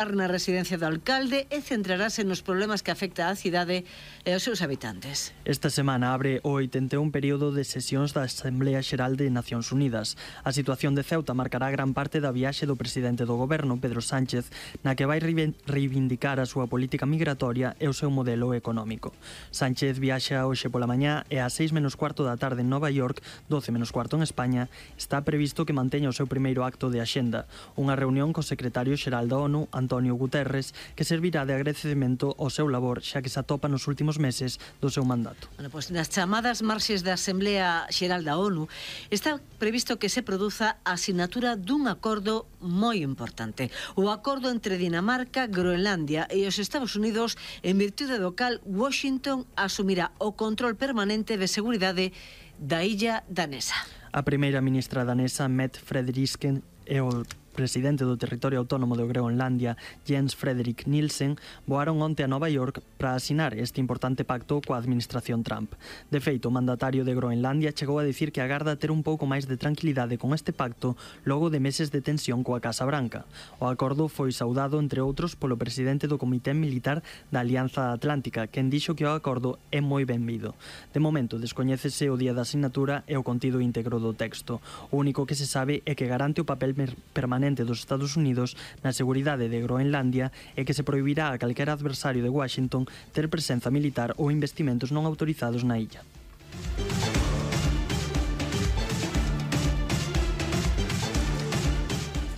na residencia do alcalde e centrarase nos problemas que afecta á cidade e aos seus habitantes. Esta semana abre o 81 período de sesións da Asamblea Xeral de Nacións Unidas. A situación de Ceuta marcará gran parte da viaxe do presidente do goberno, Pedro Sánchez, na que vai reivindicar a súa política migratoria e o seu modelo económico. Sánchez viaxa hoxe pola mañá e ás 6:15 da tarde en Nova York, 12:15 en España, está previsto que manteña o seu primeiro acto de axenda, unha reunión co secretario xeral da ONU, Antonio Guterres, que servirá de agradecemento ao seu labor, xa que se atopa nos últimos meses do seu mandato. Bueno, pois nas chamadas marxes da Asamblea Xeral da ONU está previsto que se produza a asinatura dun acordo moi importante, o acordo entre Dinamarca, Groenlandia e os Estados Unidos, en virtude do cal Washington asumirá o control permanente de seguridade da illa danesa. A primeira ministra danesa, Mette Frederiksen, e o presidente do territorio autónomo de Groenlandia, Jens Frederik Nielsen, voaron onte a Nova York para asinar este importante pacto coa administración Trump. De feito, o mandatario de Groenlandia chegou a dicir que agarda ter un pouco máis de tranquilidade con este pacto logo de meses de tensión coa Casa Branca. O acordo foi saudado, entre outros, polo presidente do Comité Militar da Alianza Atlántica, quen dixo que o acordo é moi benvido. De momento, descoñécese o día da asignatura e o contido íntegro do texto. O único que se sabe é que garante o papel permanente dos Estados Unidos na seguridade de Groenlandia e que se prohibirá a calquera adversario de Washington ter presenza militar ou investimentos non autorizados na illa.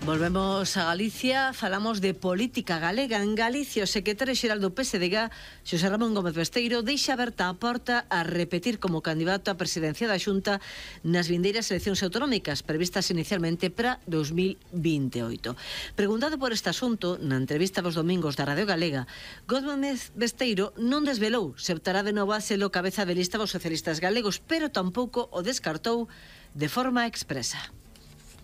Volvemos a Galicia, falamos de política galega. En Galicia, o secretario xeral do PSDG, Xosé Ramón Gómez Besteiro, deixa aberta a porta a repetir como candidato á presidencia da Xunta nas vindeiras eleccións autonómicas previstas inicialmente para 2028. Preguntado por este asunto, na entrevista dos domingos da Radio Galega, Gómez Besteiro non desvelou se optará de novo a selo cabeza de lista dos socialistas galegos, pero tampouco o descartou de forma expresa.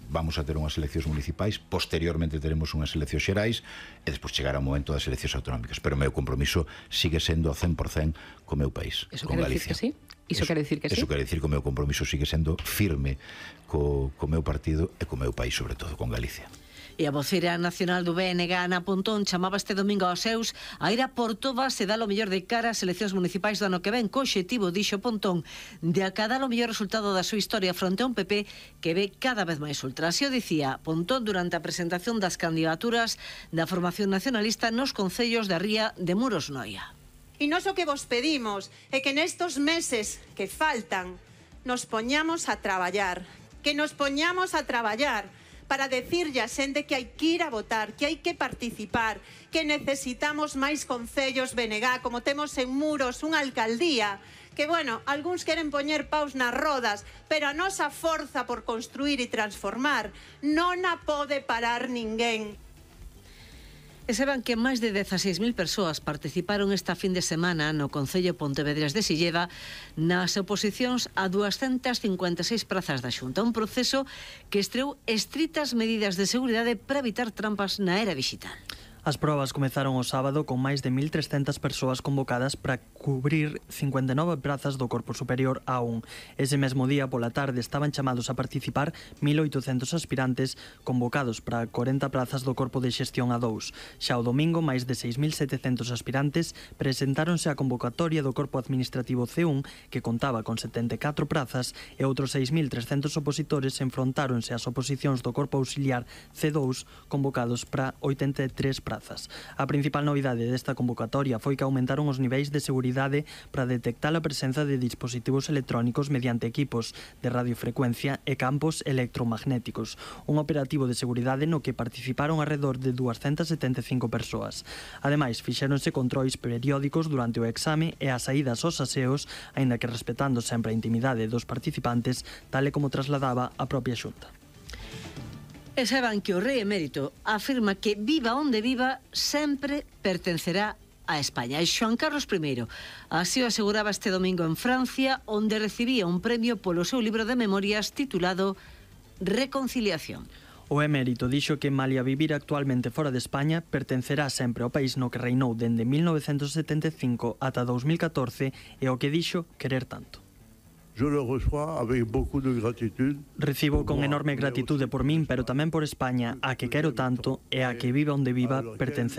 Vamos a ter unhas eleccións municipais, posteriormente teremos unhas eleccións xerais e despois chegará o momento das eleccións autonómicas, pero o meu compromiso sigue sendo ao 100% co meu país, con Galicia. Iso quere dicir que sí? Iso quere dicir que o meu compromiso sigue sendo firme co meu partido e co meu país, sobre todo, con Galicia. E a voceira nacional do BNG, Ana Pontón, chamaba este domingo aos seus a ir a por todas e dar o mellor de cara ás eleccións municipais do ano que ven, co obxectivo, dixo Pontón, de acadar o mellor resultado da súa historia fronte a un PP que ve cada vez máis ultra. Así o dicía Pontón durante a presentación das candidaturas da formación nacionalista nos concellos da ría de Muros, Noia. E nós o que vos pedimos é que nestos meses que faltan nos poñamos a traballar, para decirlle a xente que hai que ir a votar, que hai que participar, que necesitamos máis concellos BNG, como temos en Muros unha alcaldía, que, bueno, algúns queren poñer paus nas rodas, pero a nosa forza por construir e transformar non a pode parar ninguén. E saben que máis de 16.000 persoas participaron esta fin de semana no Concello Pontevedrés de Silleda nas oposicións a 256 prazas da Xunta, un proceso que estreou estritas medidas de seguridade para evitar trampas na era digital. As probas comezaron o sábado con máis de 1.300 persoas convocadas para cubrir 59 prazas do Corpo Superior A1. Ese mesmo día, pola tarde, estaban chamados a participar 1.800 aspirantes convocados para 40 prazas do Corpo de Xestión A2. Xa o domingo, máis de 6.700 aspirantes presentáronse á convocatoria do Corpo Administrativo C1, que contaba con 74 prazas, e outros 6.300 opositores enfrontáronse ás oposicións do Corpo Auxiliar C2, convocados para 83 prazas. A principal novidade desta convocatoria foi que aumentaron os niveis de seguridade para detectar a presenza de dispositivos electrónicos mediante equipos de radiofrecuencia e campos electromagnéticos, un operativo de seguridade no que participaron alrededor de 275 persoas. Ademais, fixéronse controis periódicos durante o exame e as saídas aos aseos, aínda que respetando sempre a intimidade dos participantes, tal e como trasladaba a propia Xunta. E saben que o rei emérito afirma que viva onde viva sempre pertencerá a España. E Xoán Carlos I así o aseguraba este domingo en Francia, onde recibía un premio polo seu libro de memorias titulado Reconciliación. O emérito dixo que malia vivir actualmente fora de España, pertencerá sempre ao país no que reinou dende 1975 ata 2014 e o que dixo querer tanto. Recibo con enorme gratitude por min, pero tamén por España, a que quero tanto e a que viva onde viva pertence